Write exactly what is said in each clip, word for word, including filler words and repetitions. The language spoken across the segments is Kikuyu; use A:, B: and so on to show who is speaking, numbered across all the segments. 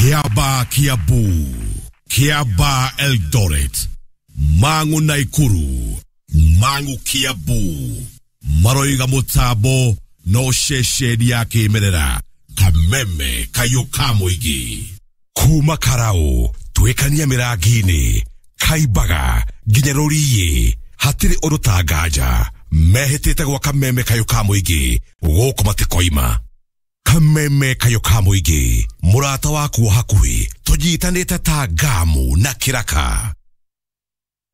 A: Kiaba Kiambu, Kiaba Eldoret, Mang'u Naikuru, Mang'u Kiambu, maroiga mũtambo no ceceni ya kĩmerera Kameme kayũ ka mũingĩ. Kuma Karau twĩkania mĩrangi-inĩ Kaimbaga nginya Rũriĩ, hatirĩ ũndũ ta nganja mehĩtĩte gwa Kameme kayũ ka mũingĩ gũkũ matikoima. Kameme kayũ ka mũingĩ, mũrata waku wa hakuhĩ, tũnyitanĩte ta ngamu na kĩraka.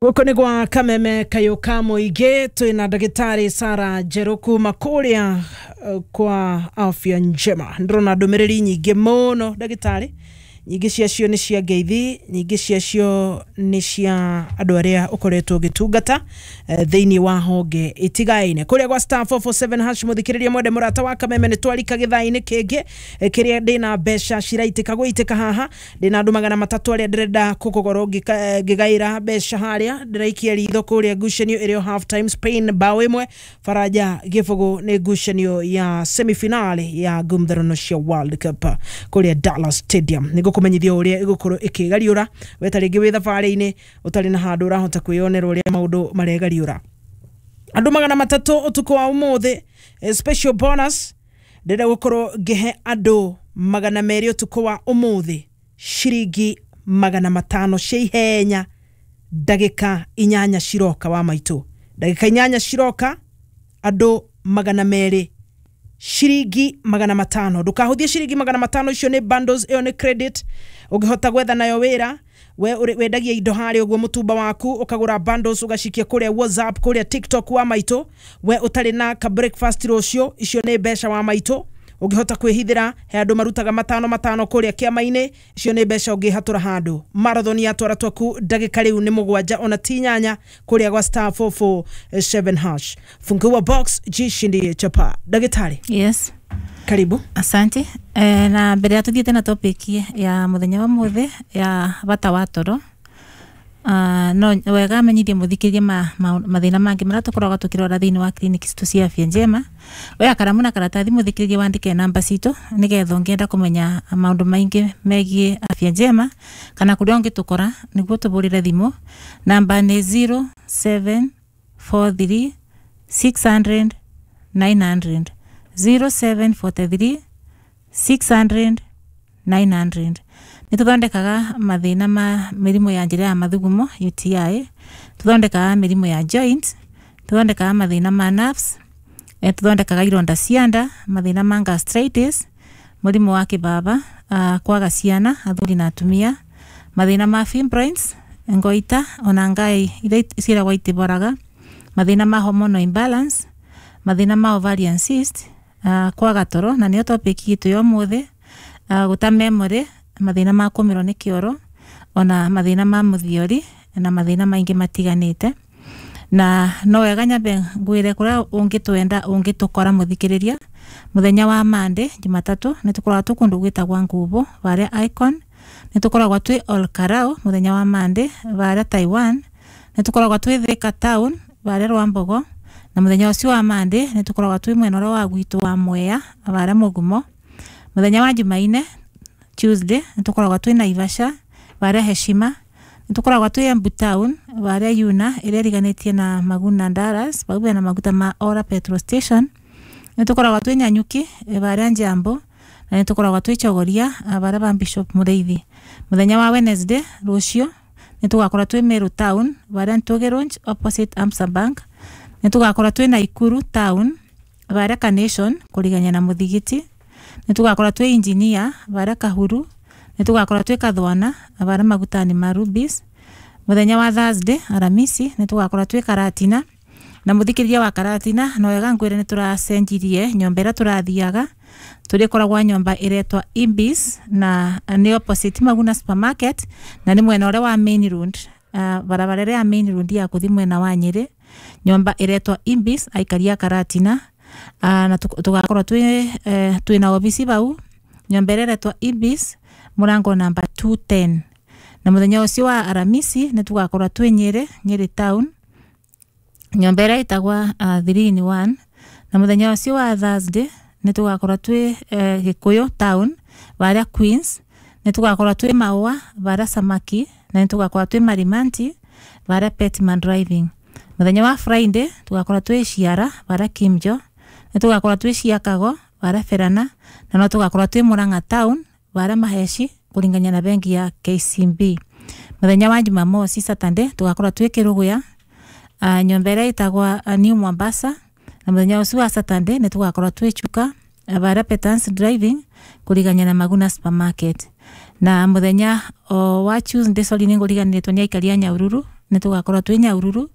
B: Gũkũ nĩ gwa Kameme kayũ ka mũingĩ, twĩna ndagĩtarĩ Sara Njerũ kuma kũrĩa eh, kwa Afya Njema. Ndĩrona ndũmĩrĩri nyingĩ mũno ndagĩtarĩ, nyingĩ ciacio nĩ cia ngeithi, nyingĩ ciacio nĩ cia andũ arĩa ũkoretwo ũgĩtungata eh, thĩinĩ wa honge itigaine kũrĩa gwa star four four seven hash. Mũthikĩrĩria mwende mũrata wa Kameme, nĩ twarika gĩthaa-inĩ kĩngĩ eh, kĩrĩa ndĩna mbeca ciraitĩka gũitĩka haha. Ndĩna andũ magana matatũ arĩa ndĩrenda kũgũkorwo ngĩgaĩra mbeca harĩa. Ndĩraikia ritho kũrĩa ngucanio ĩrĩ o half time, Spain bao ĩmwe Faranja gĩbũgũ, nĩ ngucanio ya semifinali ya ngumtharano cia World Cup kũrĩa Dallas Stadium. Nĩ ngũkũmenyithia ũrĩa ĩgũkorwo ĩkĩgariũra we ta rĩngĩ wĩ thabarĩ-inĩ ũtarĩ na handũ ũrahota kwĩyonera ũrĩa maũndũ maregariũra. Andũ magana matatũ ũtukũ wa ũmũthĩ, eh, special bonus, ndĩrenda gũkorwo ngĩhe andũ magana merĩ ũtukũ wa ũmũthĩ ciringi magana matano cia ihenya ndagĩka inyanya ciroka. Wa maitũ, ndagĩka inyanya ciroka, andũ magana merĩ ciringi magana matano. Ndũkahũthie ciringi magana matano icio, nĩ bundles, ĩyo nĩ credit ũngĩhota gwetha nayo wĩra. We ũrĩ- wendagia indo harĩa ũguo mũtumba waku, ũkagũra bundles ũgacikia kũrĩa WhatsApp, kũrĩa TikTok. Wa maitũ, we ũtarĩ na ka breakfast rũciũ, icio nĩ mbeca. Wa maitũ, ũngĩhota kwĩhithĩra he andũ marutaga matano matano kũrĩa kĩama-inĩ, icio nĩ mbeca ũngĩhatũra handũ. Marathon ya twara twaku, ndagĩka rĩu nĩ mũgwanja ona ti inyanya, kũrĩa gwa star four four seven hash, fungua box, jishindie chapa. Ndagĩtarĩ,
C: Yes.
B: karibu.
C: Asante. E, na mbere ya tuthiĩte na topic ya mũthenya wa mũthĩ ya bata wa toro, Uh, no wega menyithie mũthikĩrie ma, ma, mathĩna mangĩ marĩa tũkoragwo tũkĩrora thĩinĩ wa clinic citũ cia Afya Njema. Oya karamu na karatathi, mũthikĩrie, wandĩke namba citũ nĩgetha ũngĩenda kũmenya maũndũ maingĩ megiĩ Afya Njema kana kũrĩa ũngĩtũkora nĩguo tũbũrĩre thimũ. Namba nĩ zero seven four three six hundred nine hundred, zero seven four three six hundred nine hundred. Nĩ tũthondekaga mathĩna ma mĩrimũ ya njĩra ya mathugumo, U T I, tũthondekaga mĩrimũ ya joint, tũthondekaga mathĩna ma nerves, eh, tũthondekaga ironda cia nda, mathĩna ma gastritis, mũrimũ wa kĩbaba, uh, kwaga ciana athuri na atumia, mathĩna ma fibroids, ngoita ona ngai iria ciĩragwo itiboraga, mathĩna ma hormonal imbalance, mathĩna ma ovarian cyst, uh, kwaga toro na nĩyo topic itũ ya ũmũthĩ, uh, gũta memory, mathĩna ma kũmĩrwo nĩ kĩoro, ona mathĩna ma mũthiori na mathĩna maingĩ matiganĩte. Na no wega nyambe ngwĩre kũrĩa ũngĩtwenda ũngĩtũkora. Mũthikĩrĩria, mũthenya wa Monday, Jumatatũ, nĩ tũkoragwo twĩ kũndũ gwĩtagwa Ngubo varĩa Icon. Nĩ tũkoragwo twĩ Ol Karau mũthenya wa Monday varĩa Taiwan. Nĩ tũkoragwo twĩ Thika Town varĩa Rwambogo, na mũthenya ũcio wa Monday nĩ tũkoragwo twĩ mwena ũrĩa wa gwitũ wa Mwea varĩa Mũgumo. Mũthenya wa Jumaine, Tuesday, nĩ tũkoragwo twĩ Naivasha varĩa Heshima. Nĩ tũkoragwo twĩ Embu Town varĩa Yuna ĩrĩa ĩriganĩtie na Maguna Dallas, vau bena maguta ma Ora petrol station. Nĩ tũkoragwo twĩ Nanyuki varĩa Njambo, na nĩ tũkoragwo twĩ Chogoria varĩa ba Bishop Mũrĩithi. Mũthenya wa Wednesday, rũciũ, nĩ tũgakorwo twĩ Meru Town varĩa Ntũgĩ Lounge opposite Amsa Bank. Nĩ tũgakorwo twĩ Naikuru Town varĩa Carnation kũrigania na mũthigiti. Nĩ tũgakorwo twĩ Engineer varĩa Kahuru. Nĩ tũgakorwo twĩ Kathwana varĩa magutani ma Rubis. Mũthenya wa Thursday, Aramisi, nĩ tũgakorwo twĩ Karatina. Na mũthikĩrĩria wa Karatina, no wega ngwĩre nĩ tũracenjirie nyũmba ĩrĩa tũrathiaga. Tũrĩkoragwa nyũmba ĩretwa Ibis na nĩ opposite Maguna Supermarket, na nĩ mwena ũrĩa wa main road, uh, barabara ĩrĩa ya main road ya kũthi mwena wa Nyĩrĩ, nyũmba ĩretwa Ibis, aikari a Karatina. uh, na tũgakorwo twĩ eh, twĩna obici vau nyũmba ĩrĩa ĩretwa Ibis, mũrango namba two ten. Na mũthenya ũcio wa Aramisi nĩ tũgakorwo twĩ Nyĩrĩ, Nyĩrĩ Town, nyũmba ĩrĩa ĩtagwa uh, three in one. Na mũthenya ũcio wa Thursday nĩ tũgakorwo twĩ eh, Gĩkũyũ Town varĩa Queens. Nĩ tũgakorwo twĩ Maũa bara Samaki, na nĩ tũgakorwo twĩ Marimanti bara Petman Driving. Mũthenya wa Friday tũgakorwo twĩ Ciara bara Kimjo, nĩ tũgakorwo twĩ Ciakago bara Ferana, na no tũgakorwo twĩ Murang'a Town bara Maheshi kũringania na bengi ya K C B. Mũthenya wa Jumamosi Saturday tũgakorwo twĩ Kĩrũgũya, uh, nyũmba ĩrĩa ĩtagwa uh, New Mombasa, na mũthenya ũcio wa Saturday nĩ tũgakorwo twĩ Chuka bara Petans Driving kũrigania na Maguna Supermarket. Na mũthenya o wa Tuesday, sorry, nĩ ngũriganĩrĩtwo nĩ aikari a Nyahururu, nĩ tũgakorwo twĩ Nyahururu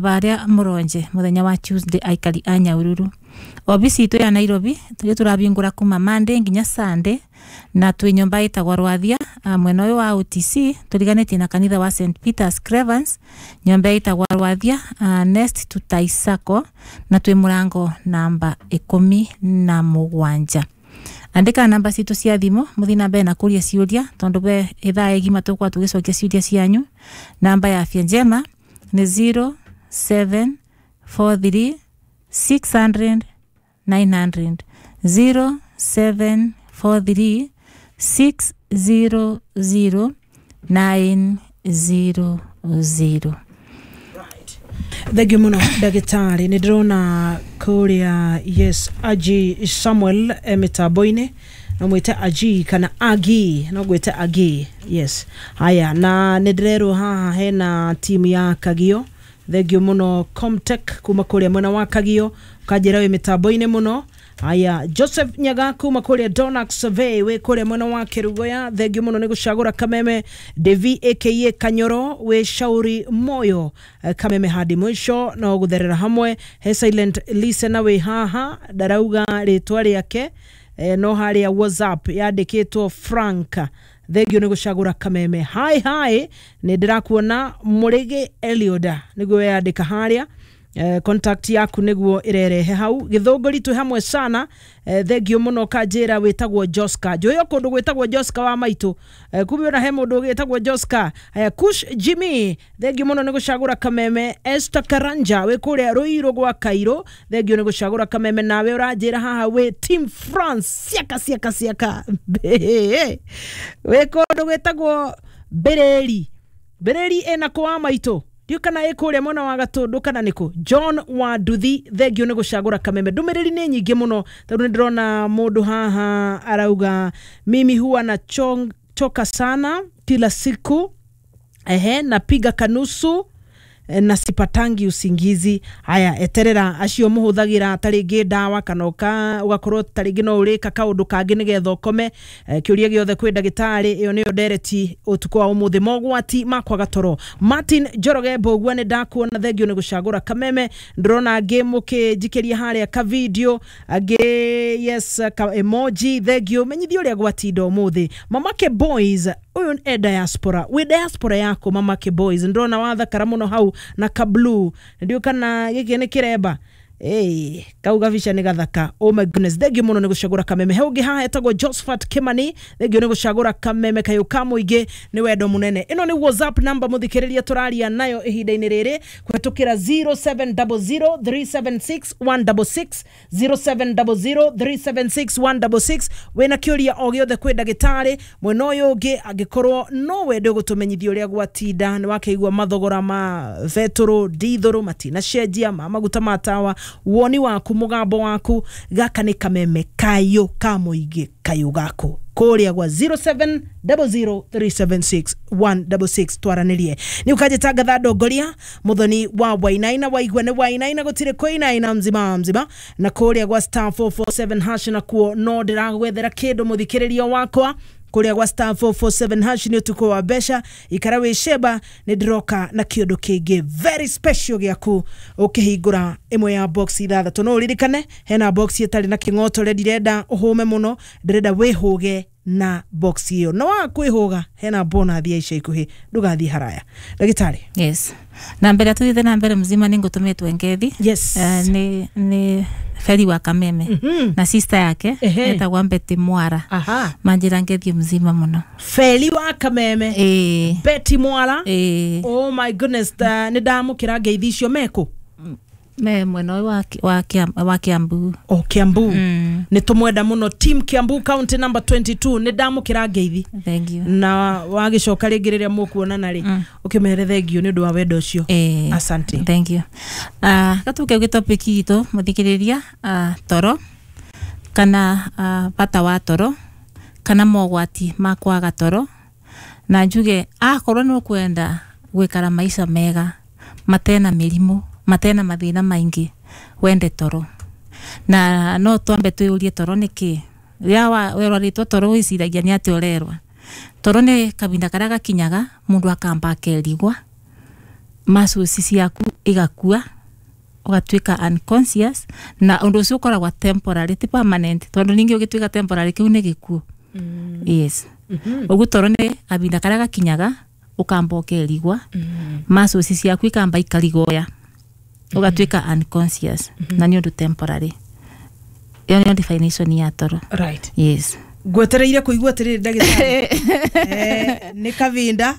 C: baria Mũronje mũthenya wa Tuesday, aikari a Nyahururu. Obici itũ ya Nairobi tũrĩa tũrabingũra kuma Monday nginya Sunday, na twĩ nyũmba ĩtagwo Rwathia mwena ũyũ wa O T C tũriganĩtie na kanitha wa Saint Peter's Cravens, nyũmba ĩtagwo Rwathia uh, next to Taisako, na twĩ mũrango namba ikũmi na mũgwanja. Andĩka namba citũ cia thimũ mũthiĩ na mbere na kũria ciũria tondũ be ithaa igima tũgũkorwo tũgĩcokia ciũria cianyu. Namba ya Afya Njema nĩ zero seven four three six hundred nine hundred, zero seven four three six zero zero nine zero zero.
B: Thank you muno ndagĩtarĩ. Nĩ ndĩrona kũrĩa yes Aji Samuel e mĩtambo-inĩ, no mwĩte Aji kana Agi, no ngwĩte Agi, yes. Haya, na nĩ ndĩrerwo haha hena timu ya Kagio. Thank you muno Comtech kuma kũrĩa mwena wa Kagio, ũkanjĩra wĩ mĩtambo-inĩ mũno. Haya, Joseph Nyaga kuma kũrĩa Donax Survey wĩ kũrĩa mwena wa Kĩrugoya, thank you mũno nĩ gũcagũra Kameme. Devi aka Kanyoro wĩ Shauri Moyo, Kameme hadi mwisho no gũtherera hamwe. He silent listener wĩ haha ndarauga rĩtwa rĩake, e, no harĩa WhatsApp yandĩkĩtwo Frank, thank you nĩ gũcagũra Kameme. Hi hi, nĩ ndĩrakuona Mũrĩgĩ Elioda nĩguo yandĩka harĩa. Eh, contact yaku niguo irerehe hau. Githũngũri twĩ hamwe sana, eh, thank you muno. Kanjĩra wĩtagwo Joska, njũĩ o kũndũ gwĩtagwo Joska wa maitũ, eh, kumbe ona he mũndũ wĩtagwo Joska. Haya, Kush Jimmy, thank you muno nĩ gũcagũra Kameme. Esther Karanja wĩ kũrĩa Rũirũ gwa Kairũ, thank you nĩ gũcagũra Kameme. Nawe ũranjĩra haha wĩ Team France, ciaka ciaka ciaka wĩ kũndũ gwĩtagwo Mbĩrĩri, Mbĩrĩri ĩna kũ wa maitũ, ndiũ kana ĩ kũrĩa mwena wa Gatũndũ kana nĩkũ. John wa Nduthi, thank you nĩ gũcagũra Kameme. Ndũmĩrĩri nĩ nyingĩ mũno tondũ nĩ ndĩrona mũndũ haha arauga mimi huwa na chong, choka sana kila siku, ehe, napiga kanusu na sipatangi usingizi. Haya, eterera acio muhuthagira tarĩngĩ ndawa kana ũka ũgakorwo tarĩngĩ no ũrĩka kaũndũ kangĩ nĩgetha ũkome. E, kĩũria gĩothe kwĩ ndagĩtarĩ, ĩyo nĩyo ndereti ũtukũ wa ũmũthĩ, mogwati ma kwaga toro. Martin Njoroge Mbũgua nĩ ndakuona, thank you nĩ gũcagũra Kameme. Ndĩrona angĩ mũkĩnjikĩria harĩa ka video, angĩ yes ka emoji, thank you. Menyithia ũrĩa gwatinda ũmũthĩ. Mamake Boys, ũyũ e diaspora, wĩ diaspora yako Mamake Boys, ndĩrona wathakara mũno hau na ka blue, ndio kana gĩkĩ nĩ kĩremba. Hey, kau gabica nĩ gathaka. Oh my goodness, thank you mũno nĩ gũcagũra Kameme. He ũngĩ haha etagwo Josephat Kimani, thank you nĩ gũcagũra Kameme. Kayũ ka mũingĩ nĩ wendo mũnene. Ĩno nĩ WhatsApp number mũthikĩrĩria tũraria nayo ihinda-inĩ rĩrĩ kũhetũkĩra zero seven zero zero three seven six one six six, zero seven zero zero three seven six one six six. Wĩna kĩũria o gĩothe kwĩ ndagĩtarĩ mwena ũyũ ũngĩ, angĩkorwo no wende gũtũmenyithia ũrĩa gwatinda, nĩ wakĩigua mathogora ma betũrũ ndithũrũ matinacenjia, ma maguta ma tawa, woni waku mugambo waku, gaka nĩ Kameme kayũ ka mũingĩ kayũ gaku kũrĩa gwa zero seven zero zero three seven six one six six twaranĩrie. Nĩ ũkanjĩtangatha ndongoria mũthoni wa Wainaina, waigua nĩ Wainaina gũtirĩ kũinaina mzima mzima, na kũrĩa gwa star four four seven hash nakuo no ndĩragwethera kĩndũ mũthikĩrĩrio wakwa kũrĩa gwa star four four seven hash nĩ ũtukũ wa mbeca. Ikara wĩ sheba, nĩ ndĩroka na kĩũndũ kĩngĩ very special gĩaku ũkĩhingũra ĩmwe ya box ithathatũ. No ũririkane hena box ĩtarĩ na kĩng'otore, ndirenda ũhũme mũno, ndĩrenda wĩhũge na box ĩyo, no waga kwĩhũga hena bonus ya ica ikuhĩ, ndũgathiĩ haraya. Ndagĩtarĩ.
C: Yes, na mbere tuthiĩte na mbere mzima nĩ ngũtũmĩtwo ngethi.
B: Yes.
C: Uh, nĩ nĩ Feri wa Kameme, mm -hmm. na sister yake etagwo Betty Mwara.
B: Aha.
C: Manjira ngethi mzima muno.
B: Feri wa Kameme,
C: eh,
B: Betty Mwara.
C: Eh.
B: Oh my goodness, nĩ ndamũkĩra ngeithi icio meko
C: Me mwena ũyũ wa, wa, Kiam- wa Kiambu.
B: O Kiambu.
C: Mm.
B: Nä tå mwenda må no team Kiambu county number twenty-two, nä ndamå kä ra ngeithi.
C: Thank you.
B: Na wagä coka rä ngä rä rä a må kuonana rä
C: Mm.
B: å kä mere thengio nä å ndå wa wendo å cio.
C: Eh,
B: asante.
C: Thank you. Uh, gatuke gwä topic itå muthikiriria, uh, toro kana uh, bata wa toro kana mogwati ma kwaga toro, na njuge akorwo nä ũkwenda gwikara maica mega matena mĩrimũ, matena mathĩna maingĩ, wende toro. Na no twambe twĩyũrie toro nĩ kĩ. Rĩrĩa wa- werwarĩtwo toro wĩciragia nĩ atĩ ũrerwa toro nĩ kahinda karĩa gakinyaga mũndũ akamba akerigwa, muscles ciaku igakua, ũgatuĩka unconscious, na ũndũ ũcio ũkoragwo temporary, ti permanent, tondũ ningĩ ũgĩtuĩka temporary kĩu nĩ gĩkuũ. Yes, ũguo toro nĩ kahinda karĩa gakinyaga ũkamba ũkerigwa, muscles ciaku ikamba ikarigoya, ũgatuĩka unconscious, na nĩ ũndũ temporary. Ĩyo nĩyo definition ya toro.
B: Right.
C: Yes.
B: Ngwetereire kå igua atä rä rä ndagätarä, nä kavinda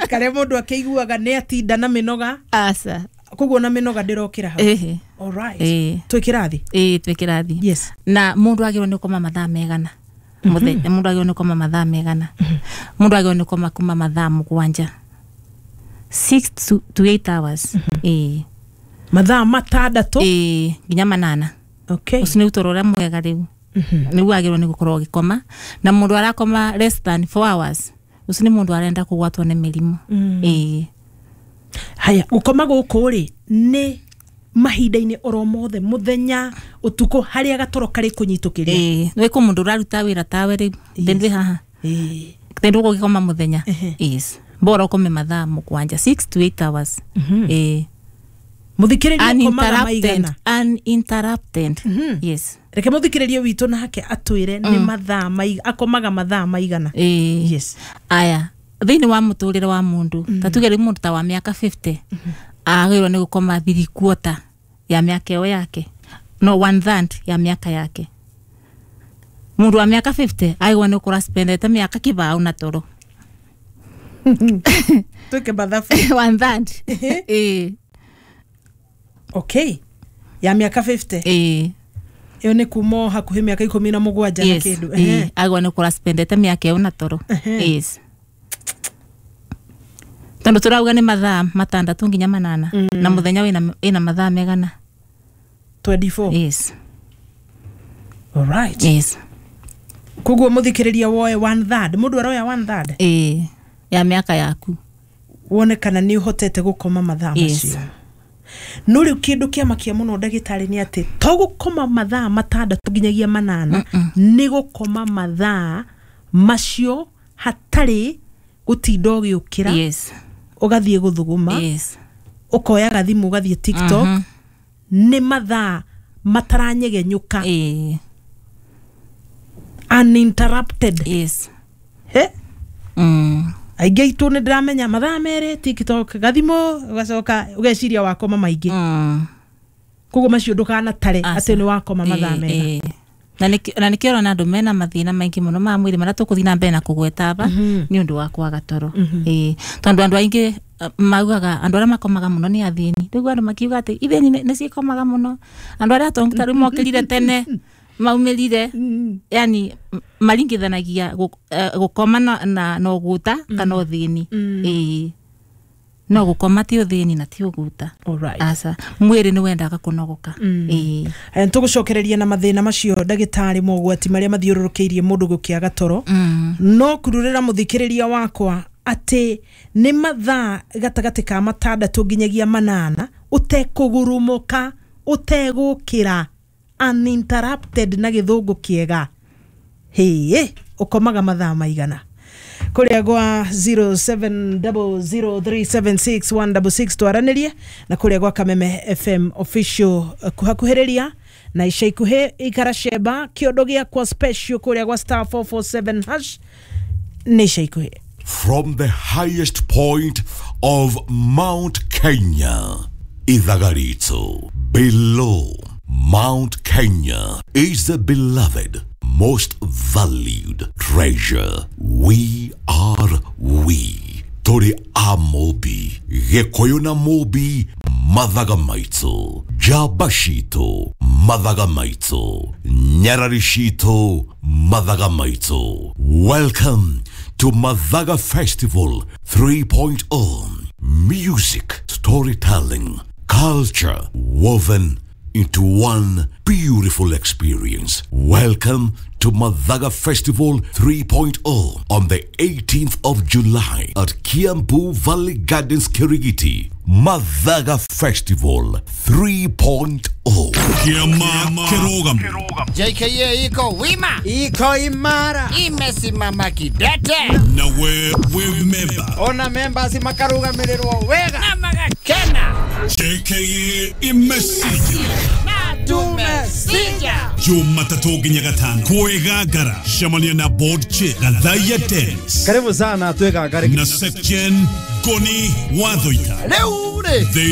B: karä a må ndå akä iguaga nä atinda na mä noga.
C: Aca.
B: Koguo na mä noga ndä rokä ra hau.
C: Ĩhĩ.
B: Alright.
C: Ĩĩ.
B: Twä kä rathi.
C: Ĩĩ, twĩ kĩrathi.
B: Yes.
C: Na mundu agĩrĩirwo nĩ gũkoma mathaa megana mũthenya? Mundu agĩrĩirwo nĩ gũkoma mathaa megana? Mundu agĩrĩirwo nĩ gũkoma kuma mathaa mũgwanja, six to, to eight hours. Ĩĩ.
B: Mathaa matandatå.
C: Ĩĩ, nginya manana.
B: Okay.
C: Ũcio nĩ ũtũũro ũrĩa mwega rĩu nĩguo agĩrĩirwo nĩ gũkorwo ũgĩkoma. Na mũndũ arakoma less than four hours, ũcio nĩ mũndũ arenda kũgwatwo nĩ mĩrimũ. Ĩĩ.
B: Haya, gũkoma gũkũ rĩ, nĩ mahinda-inĩ oro mothe, mũthenya, ũtukũ, harĩa gatoro karĩ kũnyitũkĩria?
C: Ĩĩ, nĩ kũ mũndũ ũraruta wĩra tawe rĩu thendĩ haha,
B: Ĩĩ.
C: thendĩ ũgũgĩkoma mũthenya.
B: Ehe.
C: Yes, bora ũkome mathaa mũgwanja, six to eight hours. Ĩĩ.
B: Mũthikĩrĩria ũkomaga
C: Uninterrupted.
B: maigana?
C: Uninterrupted, yes.
B: Reke mũthikĩrĩria witũ nake atwĩre nĩ mathaa maiga akomaga mathaa maigana.
C: Ĩĩ.
B: Yes.
C: Aya, thĩinĩ wa mũtũrĩre wa mũndũ, ta tuge rĩu mũndũ ta wa mĩaka fifty agĩrĩirwo nĩ gũkoma three quarter ya mĩaka ĩyo yake, no one third ya mĩaka yake. Mũndũ wa mĩaka fifty agĩrĩirwo nĩ gũkorwo spendete mĩaka kĩbaũ na toro.
B: Twĩke mathabu.
C: One third, ĩĩ.
B: Okay, ya mĩaka fifty.
C: Ĩĩ.
B: Ĩyo nĩ kuma o hakuhĩ mĩaka ikũmi na mũgwanja na
C: Yes.
B: kĩndũ.
C: Ĩĩ.
B: Ehe.
C: Agĩrĩirwo nĩ gũkorwo spendete mĩaka ĩyo na toro.
B: Ehe.
C: Yes, tondũ tũrauga nĩ mathaa matandatũ nginya manana, na mũthenya wĩna ĩna mathaa megana?
B: twenty-four.
C: Yes.
B: Alright.
C: Yes.
B: Koguo mũthikĩrĩria woe one third, mũndũ aroya one third
C: Ĩĩ, ya mĩaka yaku.
B: Wone kana nĩ ũhotete gũkoma mathaa
C: Yes.
B: macio. No rĩu kĩndũ kĩamakia mũno, ndagĩtarĩ, nĩ atĩ to gũkoma mathaa matandatũ nginyagia manana, nĩ gũkoma mathaa macio hatarĩ gũtinda ũgĩũkĩra,
C: yes
B: ũgathiĩ gũthuguma,
C: yes
B: ũkoya gathimũ ũgathiĩ TikTok, nĩ mathaa mataranyegenyũka.
C: Ĩĩ.
B: Uninterrupted.
C: Yes.
B: He.
C: mm.
B: Aingĩ aitũ nĩ ndĩramenya mathaa merĩ TikTok, gathimũ, ũgacoka ũgeciria wakoma maingĩ.
C: Mm.
B: Koguo macio ndũkanatare
C: Aca.
B: atĩ nĩ wakoma mathaa
C: Ĩĩ,
B: mega.
C: ĩĩ. Na nĩkĩo na nĩkĩo ũrona andũ mena mathĩna maingĩ mũno ma mwĩrĩ marĩa tũkũthiĩ na mbere na kũgweta aba nĩ ũndũ wa kwaga toro. Ĩĩ, tondũ andũ aingĩ uh, maugaga andũ arĩa makomaga mũno nĩ athĩni. Rĩu andũ makiuga atĩ ithĩni nĩ nĩ ciĩkomaga mũno, andũ arĩa atongu ta rĩu mokĩrire tene maumĩrire, yani m- maringithanagia gũ- eh, gũkoma na, na, na ũgũta kana ũthĩni. Ĩĩ, no gũkoma ti ũthĩni na ti ũgũta.
B: Alright.
C: Aca, mwĩrĩ nĩ wendaga kũnogoka. Ĩĩ.
B: Aya, tũgũcokereria na mathĩna macio, ndagĩtarĩ, mogwati marĩa mathiũrũrũkĩirie mũndũ gũkĩaga toro.
C: Mm.
B: No kururĩra mũthikĩrĩria wakwa atĩ nĩ mathaa gatagatĩ ka matandatũ nginyagia manana, ũtekũgurumũka, ũtegũkĩra, uninterrupted na gĩthũngũ kĩega. Hĩĩ, ũkomaga mathaa maigana? Kũrĩa gwa zero seven zero zero three seven six one six six twaranĩrie, na kũrĩa gwa Kameme F M official eh, kuhakuhĩrĩria na ica ikuhĩ ikara cemba kĩondo gĩakwa special kũrĩa gwa star four four seven hash nĩ ica ikuhĩ.
A: From the highest point of Mount Kenya, Ithagarito. Below Mount Kenya is the beloved, most valued treasure. We are we. Tũrĩ a Mũmbi, Gĩkũyũ na Mũmbi, mathaga maitũ, njamba citũ, mathaga maitũ, nyarari citũ, mathaga maitũ. Welcome to Mathaga Festival 3.0. Music, storytelling, culture woven into one beautiful experience. Welcome to Mathaga Festival 3.0 on the eighteenth of July at Kiambu Valley Gardens, Kirigiti. Mathaga Festival 3.0.
D: Kiama Kirogam.
E: J K A iko wima,
F: iko imara,
E: imesimama kidete.
D: Na we we member.
F: Ona members makarugamirĩrwo wega
E: na magakena.
D: J K A imesija.
E: Na tumesija.
D: Jumatatu nginya gatano kwĩgangara cemania na board chair Gathaiya Dennis
F: Karibu sana twĩgangare
D: na Secgen Goni Wathoita.
E: Rĩu rĩ
D: Thĩinĩ